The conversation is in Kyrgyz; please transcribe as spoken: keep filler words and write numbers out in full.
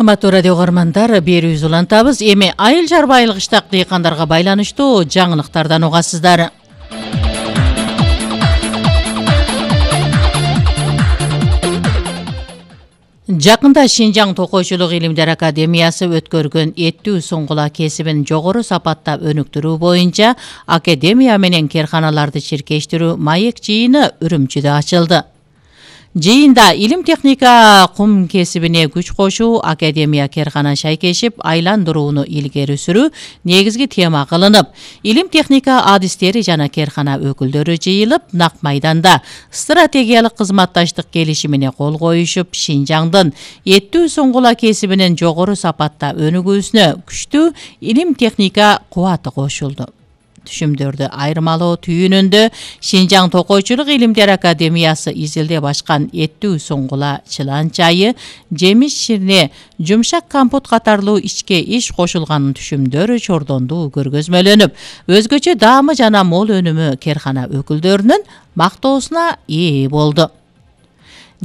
Кымбаттуу радио көрөрмандар, берүүбүз улантабыз. Эми айыл чарбайлык иштак дыйкандарга байланыштуу жаңылыктардан угасыздар. Жакында Шинжаң Токойчулук илимдер академиясы өткөргөн эттүү суңгула кесибин жогору сапаттап өнүктүрүү боюнча академия менен керканаларды чиркештирүү маек жыйыны Үрүмчүдө ачылды. Жыйында илим техника кум кесибине күч кошуу, академия керкана шайкешип айландырууну илгери сүрүү негизги тема кылынып, илим техника адистери жана керкана өкүлдөрү жыйылып, нак майданда стратегиялык кызматташтык келишимине кол коюшуп, Шинжаңдын эттүү суңгула кесибинин жогору сапатта өнүгүүсүнө күчтүү илим техника кубаты кошулду. Түшүмдөрдү айырмалоо түйүнүндө Шинжаң Токойчулук илимдер академиясы изилдеп ачкан эттүү суңгула чылан чайы, жемиш ширне, жумшак компот катарлуу ичке иш кошулган түшүмдөр чордондуу көргөзмөлөнүп, өзгөчө даамы жана мол өнүмү керкана өкүлдөрүнүн мактоосуна ээ болду.